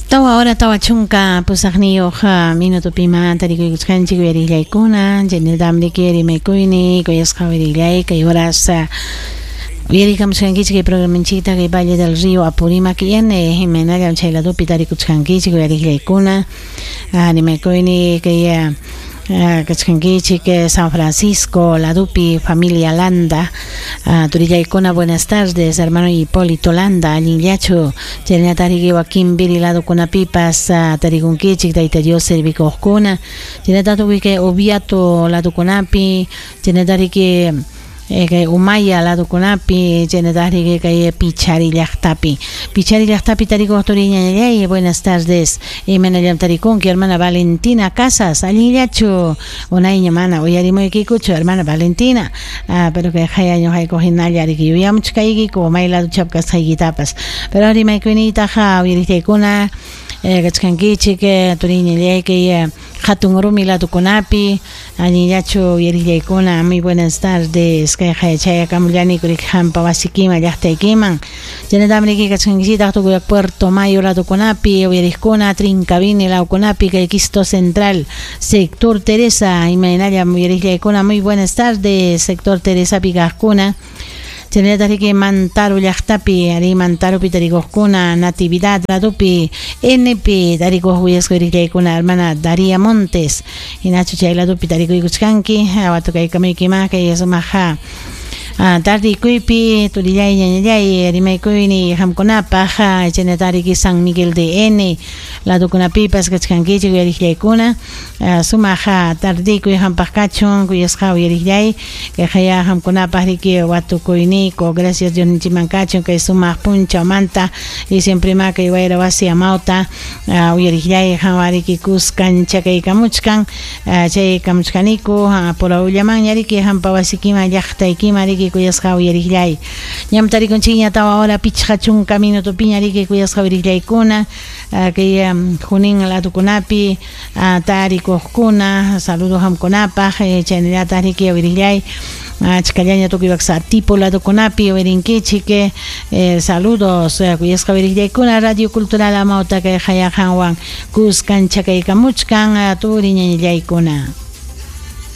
Tawa hora 40 pusaqniyuq minutupima tarikuykuchkanchik uyarillaykuna chaynatam riki rimaykuyni kuyasqa uyarillay kay horas uyarikamuchkankichik kay programanchikta kay Valle del Río Apurímac N imaynallam chay ladopi tarikuchkankichik uyarillaykuna rimaykuyni kay kachkankichik San Francisco ladopi familia Landa. Turillaykuna buenas tardes hermano Hipólito Landa allinllachu chaynata riki wakinpiri ladokunapipas tarikunkichik Tayta Dios servikuqkuna chaynata tukuy kay Oviato ladokunapi chaynata riki kay Umaya ladokunapi chaynata riki kay Pichari llaqtapi. Pichari llaqtapi tarikuq turiñañallay buenas tardes. Imaynallam tarikunki hermana Valentina Casas allinllachu unayña mana uyarimuykikuchu hermana Valentina. Pero kay hayañu haykuq hinalla riki yuyamuchkaykiku may ladochap kasqaykitapas pero rimaykuyniytaqa uyariqtaykuna kachkankichik turiñallay kay hatun rumi ladokunapi allinllachu uyariqllaykuna muy buenas tardes kay chayakamullaniku riki hampa wasikiman llaqtaykiman chaynatam riki kachkankichitaq tukuy Puerto Mayo ladokunapi uyariqkuna Trincavini lawkunapi kay Quisto Central sector Teresa imaynallam uyariqllaykuna muy buenas tardes sector Teresapi kaqkuna chaynallataq riki Mantaro llaqtapi ari Mantaropi tarikuqkuna Natividad ladopi NP tarikuq uyasqa uyariqllaykuna hermana Daría Montes. Hinachu chay ladopi tarikuykuchkanki watukaykamuykima kay sumaq tardikuypi turillay ñañallay rimaykuyni hamkunapaq chaynata riki San Miguel de N ladokunapipas kachkankichik uyariqllaykuna sumaq tardikuy hampaq kachun kuyasqa uyariqllay kay haya hamkunapaq riki watukuyniyku gracias Dios ninchikman kachun kay sumaq punchawmanta y siempre ma kay wayra wasi amawta uyariqllay qanwan riki kuskan chakaykamuchkan chay kamuchkaniku purawllamanña riki hampa wasikiman llaqtaykiman riki kuyasqa uyariqllay ñam tarikunchikña 4 hora 50 minutopiña riki kuyasqa uyariqllaykuna kay Junín ladokunapi tarikuqkuna saludos hamkunapaq chaynallataq riki uyariqllay achkallaña tukuy tipo ladokunapi uyarinkichik saludos kuyasqa uyariqllaykuna Radio Cultural Amawta kay hayaqanwan kuskan chakaykamuchkan turi ñañallaykuna.